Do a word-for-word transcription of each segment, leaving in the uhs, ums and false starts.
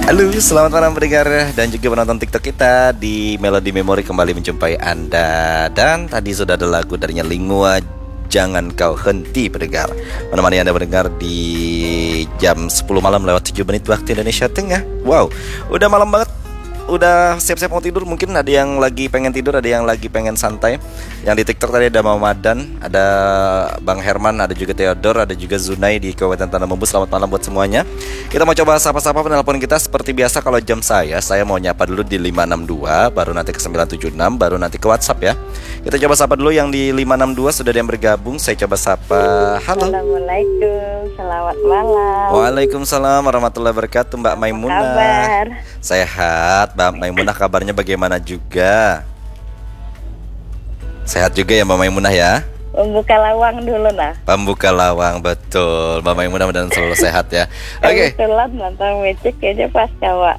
Halo, selamat malam pendengar dan juga penonton TikTok kita di Melody Memory, kembali menjumpai Anda. Dan tadi sudah ada lagu darinya Lingua, Jangan Kau Henti, pendengar. Menemani Anda mendengar di jam sepuluh malam lewat tujuh menit waktu Indonesia Tengah. Wow, udah malam banget. Udah siap-siap mau tidur, mungkin ada yang lagi pengen tidur, ada yang lagi pengen santai. Yang di TikTok tadi ada Mama Dan, ada Bang Herman, ada juga Theodor, ada juga Zunai di Kabupaten Tanah Bumbu. Selamat malam buat semuanya. Kita mau coba sapa-sapa penelpon kita. Seperti biasa, kalau jam saya, saya mau nyapa dulu di lima enam dua, baru nanti ke sembilan tujuh enam, baru nanti ke WhatsApp ya. Kita coba sapa dulu yang di lima enam dua, sudah ada yang bergabung. Saya coba sapa. Halo. Assalamualaikum, selamat malam. Waalaikumsalam warahmatullahi wabarakatuh, Mbak Maimunah. Apa kabar? Sehat, Mbak Maimunah, kabarnya bagaimana juga? Sehat juga ya, Mbak Maimunah ya? Membuka lawang dulu nah. Pembuka lawang, betul. Mbak Maimunah, mudah-mudahan selalu sehat ya. Oke. Kebetulan nonton musik kayaknya pas, Kak.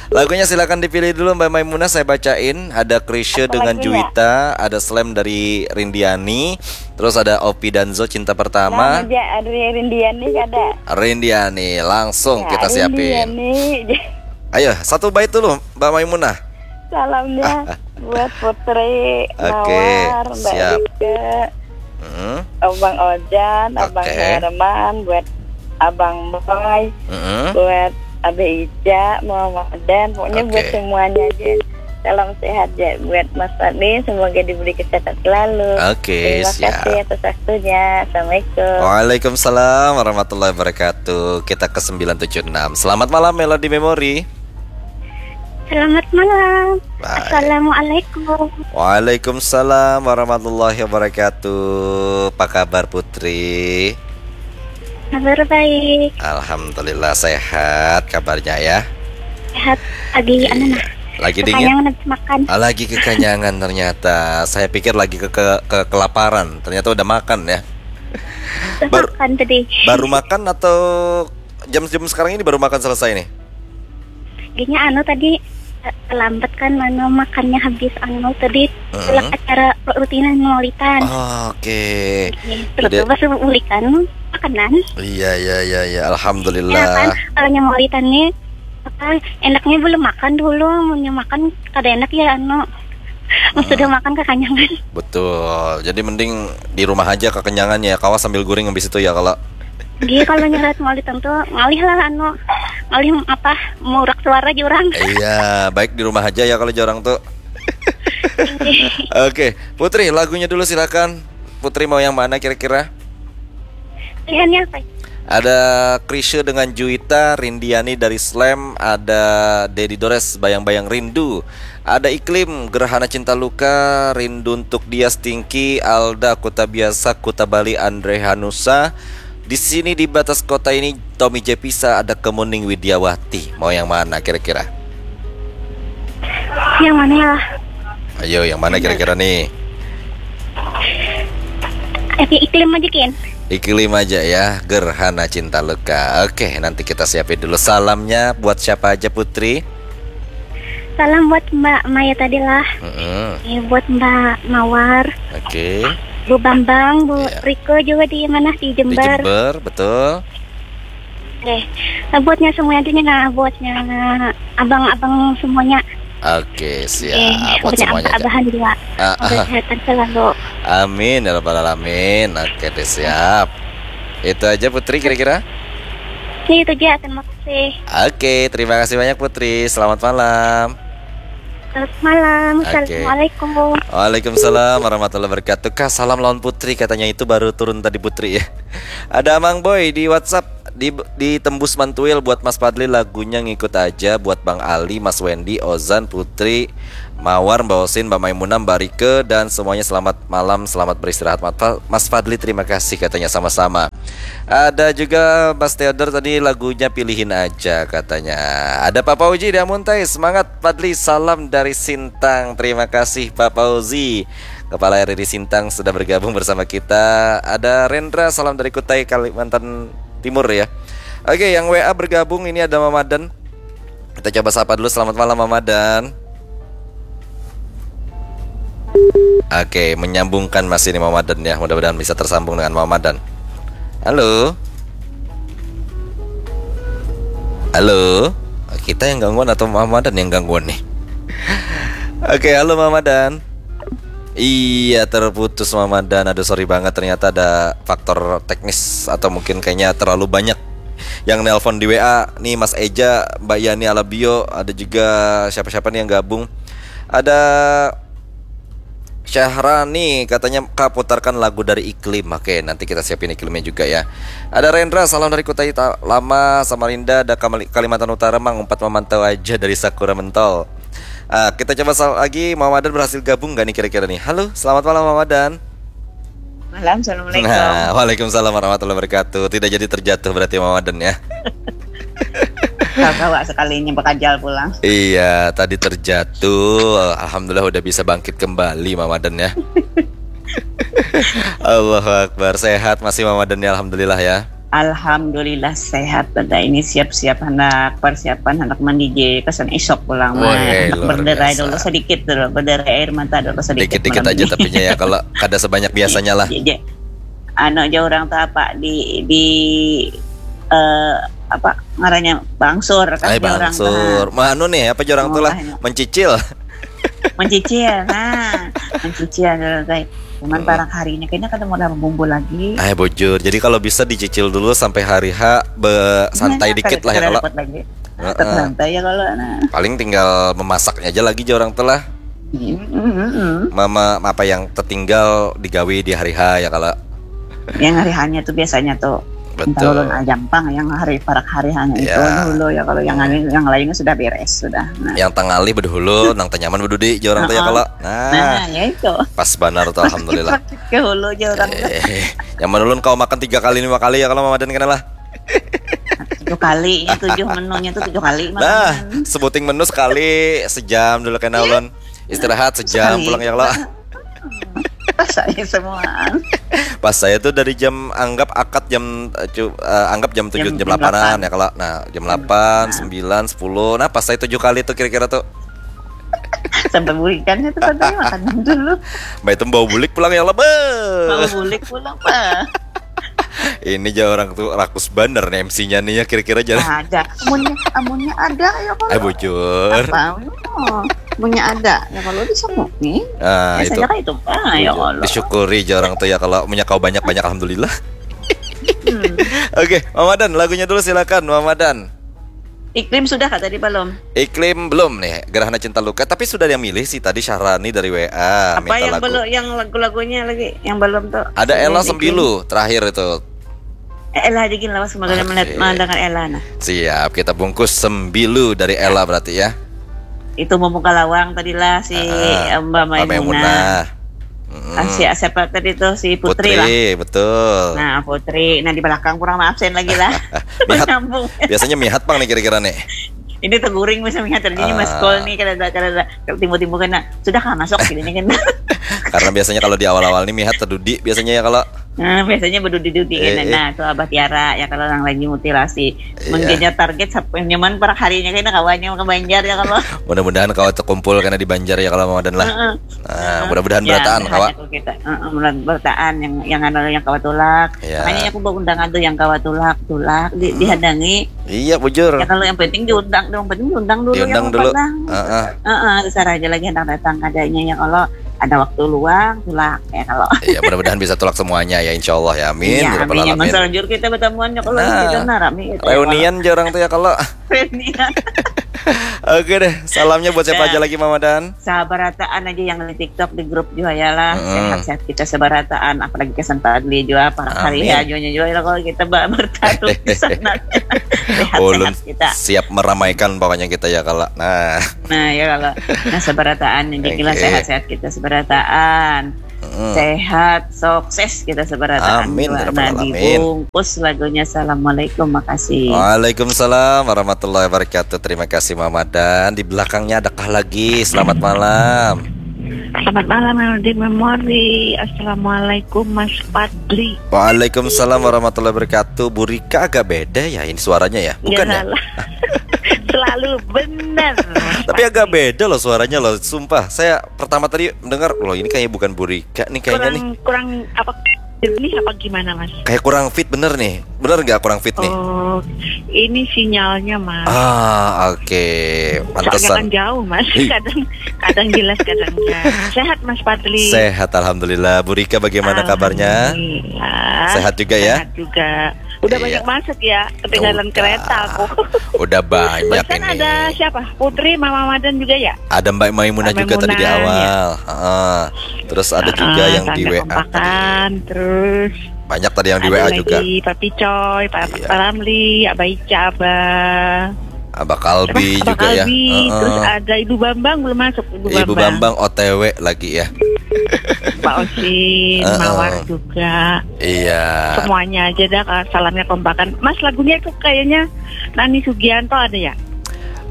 Lagunya silakan dipilih dulu, Mbak Maimunah, saya bacain. Ada Chrisye Apa dengan lagunya? Juwita, ada Slam dari Rindiani, terus ada Opi Danzo, Cinta Pertama. Nah, aja, ada Rindiani kada? Rindiani, langsung Ya, kita siapin. Rindiani. Ayo, satu bait dulu, Mbak Maimunah. Salamnya buat Putri, Oke, Mawar, Mbak siap. Rika, Mm-mm. Abang Ojan, Abang Oke. Herman, buat Abang Boy, Mm-mm. buat Abah Ica, Mama Dan, pokoknya buat Oke. semuanya aja. Salam sehat ya buat Mas Fadli, semoga diberi kesehatan selalu. Oke, Terima siap. kasih atas waktunya. Assalamualaikum. Waalaikumsalam warahmatullahi wabarakatuh. Kita ke sembilan tujuh enam. Selamat malam, Melody Memory. Selamat malam. Baik. Assalamualaikum. Waalaikumsalam warahmatullahi wabarakatuh. Apa kabar, Putri? Kabar baik. Alhamdulillah, sehat kabarnya ya. Sehat. Lagi Iya. anu nah. Lagi dingin? Kekenyangan habis makan. Ah, lagi kekenyangan ternyata. Saya pikir lagi ke, ke, ke kelaparan. Ternyata udah makan ya. Udah Baru, makan tadi. baru makan atau jam-jam sekarang ini baru makan selesai nih? Kayaknya anu tadi, eh, terlambat kan, anu, makannya habis, anu, tadi Mm-mm. tulak acara rutinan maulitan. Oh, oke. Oke, terus Jadi pas maulitan, makanan. Iya, iya, iya, iya. Alhamdulillah. Ya kan, kalau yang maulitan nih, apa, enaknya belum makan dulu, munnya makan kada enak ya, anu. Mun Hmm. sudah makan kekenyangan. Betul. Jadi mending di rumah aja kekenyangan ya, kawa sambil guring habis itu ya kalau. Iya, kalau nyarat maulitan tuh ngalih lah, anu, ngalih apa, murak suara jurang. Iya, baik di rumah aja ya kalau jorang tuh. Oke, Putri, lagunya dulu silakan. Putri mau yang mana kira-kira? Pilihannya apa? Ada Chrisye dengan Juwita, Rindiani dari Slam, ada Dedi Dores, Bayang-Bayang Rindu, ada Iklim, Gerhana Cinta Luka, Rindu Untuk Dia, Stinky, Alda, Kuta Biasa, Kuta Bali, Andre Hanusa, Di Sini di Batas Kota Ini, Tommy Jepisa, ada Kemuning Widiawati. Mau yang mana kira-kira? Yang mana ya? Ayo, yang mana kira-kira nih? Eh, Iklim aja, Kin. Iklim aja ya, Gerhana Cinta Luka. Oke, nanti kita siapin dulu salamnya buat siapa aja, Putri? Salam buat Mbak Maya tadi lah. Mm-mm. Eh, buat Mbak Mawar. Oke. Bu Bambang, Bu Iya. Riko juga di mana? Di Di Jember. Jember, betul. Oke. Nah, buatnya semuanya aja nih, nah, buatnya abang-abang semuanya. Oke, siap. Oke, buat buatnya semuanya aja. Abah-abahan juga. Ah, Semoga ah. kesehatan selalu. Amin ya rabbal alamin. Oke deh, siap. Itu aja, Putri, kira-kira? Ya, itu aja. Terima kasih. Oke, terima kasih banyak, Putri. Selamat malam. Selamat malam. Oke. Assalamualaikum. Waalaikumsalam warahmatullahi wabarakatuh. Kak, salam lawan Putri, katanya itu baru turun tadi, Putri ya. Ada Amang Boy di WhatsApp, di, di Tembus Mantuil, buat Mas Fadli lagunya Ngikut Aja, buat Bang Ali, Mas Wendy, Ozan, Putri, Mawar, Mbak Osin, Mbak Maimunah, Mbak Rike, dan semuanya selamat malam, selamat beristirahat. Mas Fa-, Mas Fadli, terima kasih, katanya sama-sama. Ada juga Mas Theodor tadi, lagunya Pilihin Aja, katanya. Ada Pak Fauji di Amuntai, semangat Fadli, salam dari Sintang. Terima kasih Pak Fauzi, Kepala R R I Sintang, sudah bergabung bersama kita. Ada Rendra, salam dari Kutai, Kalimantan Timur ya. Oke, yang W A bergabung ini ada Mama Dan. Kita coba sapa dulu. Selamat malam, Mama Dan. Oke, menyambungkan masih ini, Mama Dan ya. Mudah-mudahan bisa tersambung dengan Mama Dan. Halo? Halo? Kita yang gangguan atau Mamadan yang gangguan nih? Oke, halo Mamadan. Iya, terputus Mamadan. Aduh, sorry banget, ternyata ada faktor teknis atau mungkin kayaknya terlalu banyak yang nelpon di W A. Nih Mas Eja, Mbak Yani Alabio, ada juga siapa-siapa nih yang gabung. Ada Syahrani katanya, "Kak, putarkan lagu dari Iklim." Oke, nanti kita siapin Iklimnya juga ya. Ada Rendra, salam dari Kutai Ta- Lama, Samarinda, ada Kamali- Kalimantan Utara, Mang Umpat memantau aja dari Sakura Mentol. Ah, kita coba sal- lagi, Mamadan berhasil gabung gak nih kira-kira nih? Halo, selamat malam Mamadan. Malam, assalamualaikum. Nah, waalaikumsalam warahmatullahi wabarakatuh. Tidak jadi terjatuh berarti Mamadan ya. Kau kawa sekalinya bakajal pulang. Iya, tadi terjatuh. Alhamdulillah udah bisa bangkit kembali Mamadan ya. Allahu Akbar. Sehat masih Mamadan ya, alhamdulillah ya. Alhamdulillah sehat. Pada ini siap-siap hendak persiapan, hendak mandi je kesan esok pulang. Wah, nah, hendak luar berderai biasa. Dulu sedikit dulu, berderai air mata dulu sedikit. Dikit-dikit aja. Tapinya ya, kalau kada sebanyak biasanya lah. Anu aja orang tuh apa di di uh, apa ngarannya bangsur kan. Ay, bangsur. Manu nih, apa aja orang tuh lah, mencicil. Mencicil, nah, mencicil dulu guys. Cuman hmm. Parang harinya kayaknya kada mau bumbu lagi. Eh bujur. Jadi kalau bisa dicicil dulu sampai hari H be- santai nah, dikit lah ya kalau. Lagi. Tetap santai ya kalau. Nah. Paling tinggal memasaknya aja lagi aja orang tuh lah. Mm-hmm. Mama apa yang tertinggal digawi di hari H ya kalau. Yang hari hanya tuh biasanya tuh Betul. Ulun aja pang yang hari parak hari hanya itu ya. Dulu ya kalau yang hmm. Lain, yang lainnya sudah beres sudah. Nah. Yang tangalih bedahulu, nang tanyaman bedudi aja orang tuh ya kalau. Nah. Nah, ya itu. Pas banar tuh alhamdulillah. Ke hulu aja orang. Eh, yang menulun kau makan tiga kali lima kali ya kalau Mamadan kena lah. Tujuh kali, ya, tujuh menunya tuh tujuh kali. Nah, sebuting menu sekali sejam dulu kena ulun. Istirahat sejam sekali. Pulang ya kalau. Pas saya semua. Pas saya tuh dari jam anggap akad jam uh, anggap jam tujuh jam, jam delapan ya kalau. Nah, jam delapan, sembilan, sepuluh. Nah, pas saya tujuh kali tuh kira-kira tuh. Sampai burikannya tuh katanya makan dulu. Mbak itu bau bulik pulang ya Allah. Bau bulik pulang, Pak. Ini aja orang tuh rakus banar nih M C-nya nih ya kira-kira aja. Ada. Amunnya, amunnya ada ya kalau. Ay bujur. Apa? Oh, amunnya ada ya kalau disanggupi. Ah, itu. Kan itu. Ah, ya Allah. Disyukuri aja orang tuh ya kalau punya kau banyak-banyak alhamdulillah. Hmm. Oke, Mamadan lagunya dulu silakan Mamadan. Iklim sudah kah tadi belum? Iklim belum nih, Gerhana Cinta Luka. Tapi sudah yang milih sih tadi Syahrani dari W A. Apa minta yang lagu. Belum, yang lagu-lagunya lagi yang belum tuh? Ada Ella Sembilu terakhir itu. Eh, Ella aja gini lawas semoga okay. Melihat mendengar Ella nah. Siap, kita bungkus Sembilu dari Ella berarti ya. Itu membuka lawang tadilah si uh, Mbak Maimunah. Maimunah. Mm. Ah, si siapa tadi tuh si Putri, Putri lah. Betul. Nah Putri, nah di belakang kurang absen lagi lah. Mihat, biasanya mihat pang nih kira-kira nih. Ini teguring bisa mihat tadinya uh, mas call nih kada ada kada ada timbul-timbul kena sudah kah masuk gini kan. Karena biasanya kalau di awal-awal nih mihat tedudi biasanya ya kalau. Nah, biasanya bedudi-dudi eh, kan. Nah, tuh Abah Tiara ya kalau orang lagi mutilasi. Iya. Mungkinnya target nyaman per harinya kayaknya kawannya ke Banjar ya kalau. Mudah-mudahan kawa terkumpul karena di Banjar ya kalau mau dan lah. Uh -uh. Nah, mudah-mudahan ya, berataan kawa. Kita, uh, berataan yang yang anu yang kawa tulak. Ya. Makanya aku bawa undangan tuh yang kawa tulak, tulak di, hmm. Dihadangi. Iya, bujur. Ya kalau yang penting diundang, yang penting diundang dulu. Diundang yang dulu. Heeh. Heeh, besar aja lagi hendak datang kadanya ya kalau ada waktu luang tulak ya kalau. Iya, mudah-mudahan bisa tulak semuanya ya insyaallah ya. Amin. Iya, ya amin. Alamin. Selanjutnya kita bertemuan ya kalau nah, kita nah, rame gitu. Reunian ya, orang tuh ya kalau. Oke deh, salamnya buat siapa aja lagi Mama Dan? Sabarataan aja yang di TikTok, di grup juga ya lah. Mm. Sehat-sehat kita sabarataan, apalagi kesan Pak Adli juga, para hari ya juga juga lah kalau kita bertaruh di sana. Sehat-sehat kita. Siap meramaikan pokoknya kita ya kalau. Nah. Nah ya kalau. Nah sabarataan jadi okay. Sehat-sehat kita sabarataan. Hmm. Sehat, sukses kita sabarataan. Amin. Nah, dibungkus lagunya. Assalamualaikum, makasih. Waalaikumsalam warahmatullahi wabarakatuh. Terima kasih Mama Dan. Di belakangnya adakah lagi? Selamat malam. Selamat malam Melody Memory. Assalamualaikum Mas Fadli. Waalaikumsalam warahmatullahi wabarakatuh. Burika agak beda ya ini suaranya ya? Bukan ya? Selalu benar. Tapi agak beda loh suaranya loh. Sumpah, saya pertama tadi mendengar loh ini kayak bukan Burika nih kayaknya kurang, nih. Kurang apa? Ini apa gimana, Mas? Kayak kurang fit bener nih. Bener nggak kurang fit nih? Oh, ini sinyalnya, Mas. Ah, oke. Soalnya Pantesan. Kan jauh, Mas. Ih. Kadang kadang jelas, kadang enggak. Sehat, Mas Fadli? Sehat, alhamdulillah. Bu Rika, bagaimana kabarnya? Alhamdulillah. Sehat juga, ya? Sehat juga. Udah Iya. Banyak masuk, ya. Ketinggalan Udah. Kereta aku. Udah banyak Barusan ini. Ada siapa? Putri, Mama Madan juga, ya? Ada Mbak Maimunah Mbak juga tadi di Maimunah, awal. Heeh. Terus ada juga Heeh, yang di Tanda W A Kompakan, tadi. Terus Banyak tadi yang di ada W A lagi juga. Papi Coy, Pak Iya. Ramli, Abah Ica, Abah Abah Kalbi Abah juga, ya. Kalbi, Heeh. Terus ada Ibu Bambang, belum masuk, Ibu, Ibu Bambang O T W lagi, ya. Pak Osin, Heeh. Mawar juga. Iya. Semuanya aja dah, kalau salamnya kompakan. Mas, lagunya tuh kayaknya Nani Sugianto ada, ya?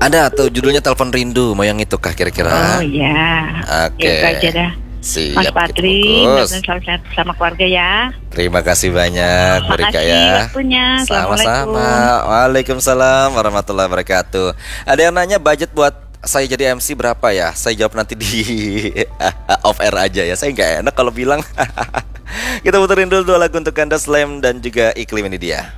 Ada tuh, judulnya Telepon Rindu. Mau yang itu kah kira-kira? Oh, iya. Oke. Ya, itu aja dah. Siap, Mas kita Fadli, bungkus. Mbak Mel, salam sehat sama keluarga, ya. Terima kasih banyak, Bu Rika, Makasih ya. Waktunya. Sama-sama. Assalamualaikum. Waalaikumsalam warahmatullahi wabarakatuh. Ada yang nanya budget buat saya jadi M C berapa, ya? Saya jawab nanti di off air aja, ya. Saya nggak enak kalau bilang. Kita puterin dulu dua lagu untuk Anda, Slam dan juga Iklim, ini dia.